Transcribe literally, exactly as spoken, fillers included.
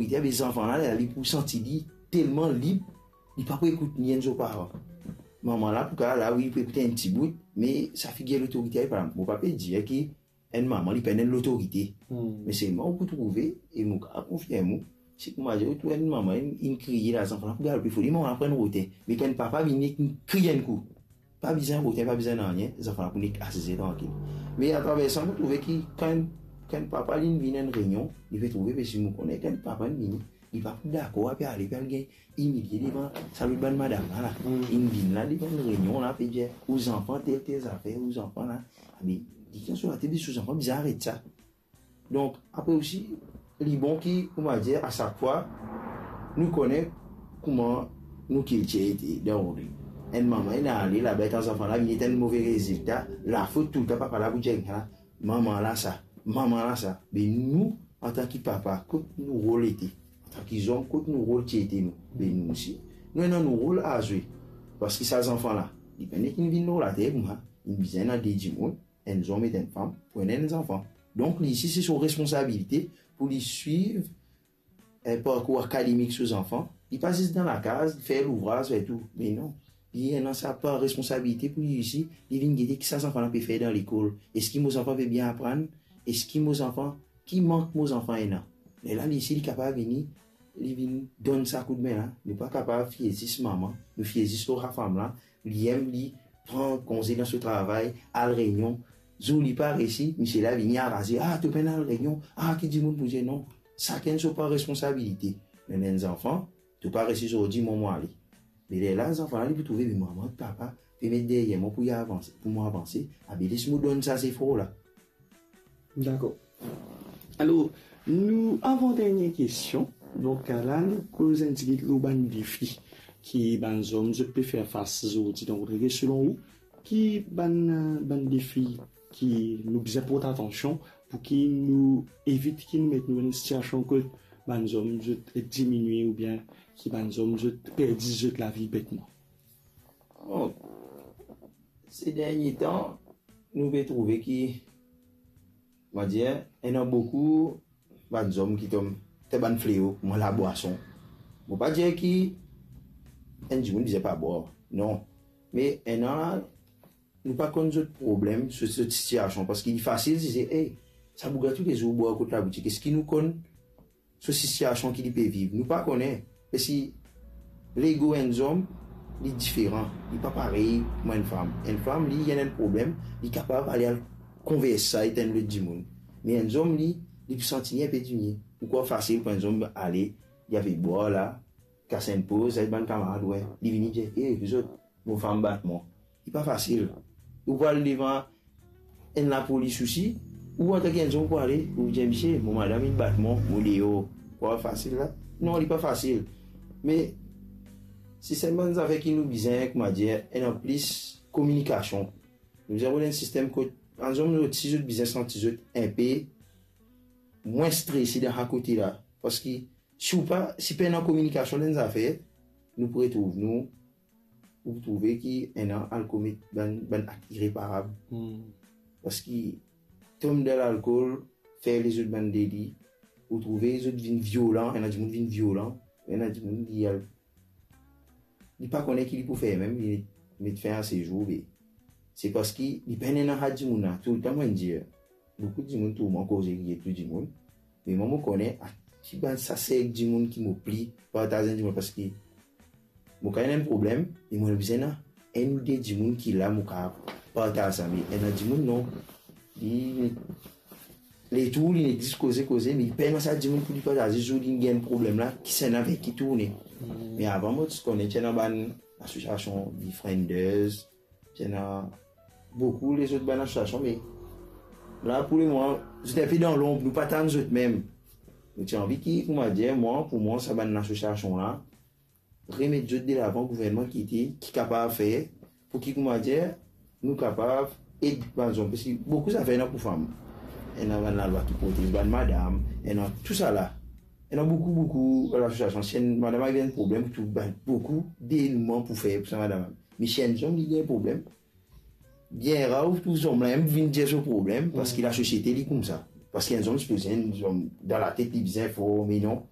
Li ti ave zanfan la, li pou santi li telman lib, li pa pou ekout ni enn so paran. Manman la pou kapav la, wi, li pou ekout enn ti bout, me sa figir lotorite la, li pa la. Mo pa pe dir ki enn manman, li pena enn lotorite. Me selman ou pou trouve, e mo kapav konfirm ou, si koumadir ou trouv enn manman, inn, inn kriye la, zanfan la pou galope, fode manman la pran enn rote. Me kan enn papa vini, inn kriye enn kou, pa bizin rote, pa bizin nanye, zanfan la pou nek asize trankil. Me atraver sa, mo trouve ki kan, kan papa li vinn enn reynion, li pe trouve, parski mo kone kan papa vini, li pa pou dakor, ape ale, pe al gagn imilie devan sa lot bann madam la, la. Inn vinn la, devan reynion la, pe dir, ou zanfan tel, tel zafer, ou zanfan la. Abe, li kan so latet, be so zanfan bizin aret sa. Donk, apre osi, li bon ki, koumadir, a sak fwa, nou kone kouma nou kiltir ete dan ou li. Enn manman inn ale laba, enn zanfan la vinn, ena enn move rezilta, lafot toultan papa la pou dir, "Ala, manman la sa, manman la sa." Be nou, antan ki papa, kot nou rol ete? Antan ki zom, kot nou rol ti ete nou? Be nou osi, nou ena nou rol a zwe. Parski sa zanfan la, li pena ki vinn lor later koumsa, li bizin ena de dimoun, enn zom ek enn fam, pou ena enn zanfan. Donk, li osi, se so responsabilite pou li swiv, eh, parkour akademik so zanfan. Li pa zis dan lakaz, fer louvraz, fer tou. Me non, li ena sa par responsabilite pou li osi, li vinn gete ki sa zanfan la pe fer dan lekol. Eski mo zanfan pe bien aprann? Eski mo zanfan, ki mank mo zanfan ena? Lerla li osi, li kapav vini, li vinn donn sa koudme la. Nou pa kapav fie zis manman, nou fie zis lor sa fam la, li enn, li pran konze dan so travay, al reynion, zour li pa resi, misie la vini araze, "Ah, to pena al reynion, ah, ki dimoun pou dir." Non, sakenn so par responsabilite. Me enn zanfan, to pa resi zordi, mo mo ale. Me lerla zanfan la, li pou trouve, "Me manman, papa pe met deryer mwa pou li avanse, pou mo avanse, abe les mo donn sa zefor la." Dakor. Alor, nou avan dernie kestion. Donk, la, nou koz enn tigit lor bann defi ki bann zom zot pe fer fas zordi. Donk, selon ou, ki bann, bann defi ki nou bizin port atansion pou ki nou evit ki nou met nou dan enn sitiasion kot bann zom zot diminie oubien ki bann zom zot perdi zot lavi betman? Bon, se dernie tan, nou pe trouve ki, mo dir, ena boukou bann zom ki tom, te bann fleo, kouma labwason. Mo pa dir ki enn dimoun bizin pa bwar, non. Me ena, nou pa konn zot problem, so, zot sitiasion, parski li fasil dir, "Ey, sa boug la toulezour bwar kot laboutik." Eski nou konn so sitiasion ki li pe viv? Nou pa kone. Parski lego enn zom, li diferan, li pa parey kouma enn fam. Enn fam, li, li ena enn problem, li kapav ale al konvers sa ek enn lot dimoun. Me enn zom, li, li pou santi li inpe diminie. Ou krwar fasil pou enn zom ale, li ave bwar la, kas enn poz, al bann kamarad, we, li vini dir, "Ey, zot, mo fam bat mwa." Li pa fasil. Ou pou al devan enn lapolis osi, ou antan ki enn zom pou ale, ou dir, "Misie, mo madam inn bat mwa, mo deor." Krwar fasil la? Non, li pa fasil. Me se selman bann zafer ki nou bizin, kouma dir, ena plis kominikasion. Nou bizin rod enn sistem kot bann zom zot, si zot bizin santi zot inpe mwin strese dan sa kote la. Parski si ou pa, si pena kominikasion dan enn zafer, nou pou retrouv nou, ou trouve ki ena al komet bann, bann akt ireparab. Parski tom dan lalkol, fer lezot bann deli, ou trouve zot vinn violan, ena dimoun vinn violan, ena dimoun li al, li pa kone ki li pou fer mem, li met fin a sezour, be se parski li pena ena sa dimoun la. Toultan mo'nn dir, boukou dimoun trouv mwa koze ki get tou dimoun, me mwa mo kone, a, ki bann sa serk dimoun ki mo pli partaz enn dimoun, parski mo kapav ena enn problem, me mo bizin ena enn ou de dimoun ki la mo kapav partaz sa. Me ena dimoun non, li, li tourn, li nek zis koze, koze, me li pena sa dimoun pou li partaz, zour li gagn problem la, kisannla avek ki tourne. Me avan mo ti kone ti ena bann asosiasion Befrienders, ti ena boukou lezot bann asosiasion, me la pou lemoman zot inpe dan lonb, nou pa tann zot mem. Nou ti anvi ki, kouma dir, mwa, pou mwa, sa bann asosiasion la, remet zot delavan, gouvernman ki ete, ki kapav fer, pou ki, kouma dir, nou kapav ed bann zom. Parski boukou zafer ena pou fam. Ena bann lalwa ki protez bann madam, ena tousala. Ena boukou, boukou lasosiasion. Si enn madam al gagn problem, ou trouv bann boukou denouman pou fer pou sa madam. Me si enn zom li gagn problem, bien rar ou trouv zom la mem vinn dir so problem, parski lasosiete li koumsa. Parski enn zom sipoze, enn zom dan latet li bizin for, me non.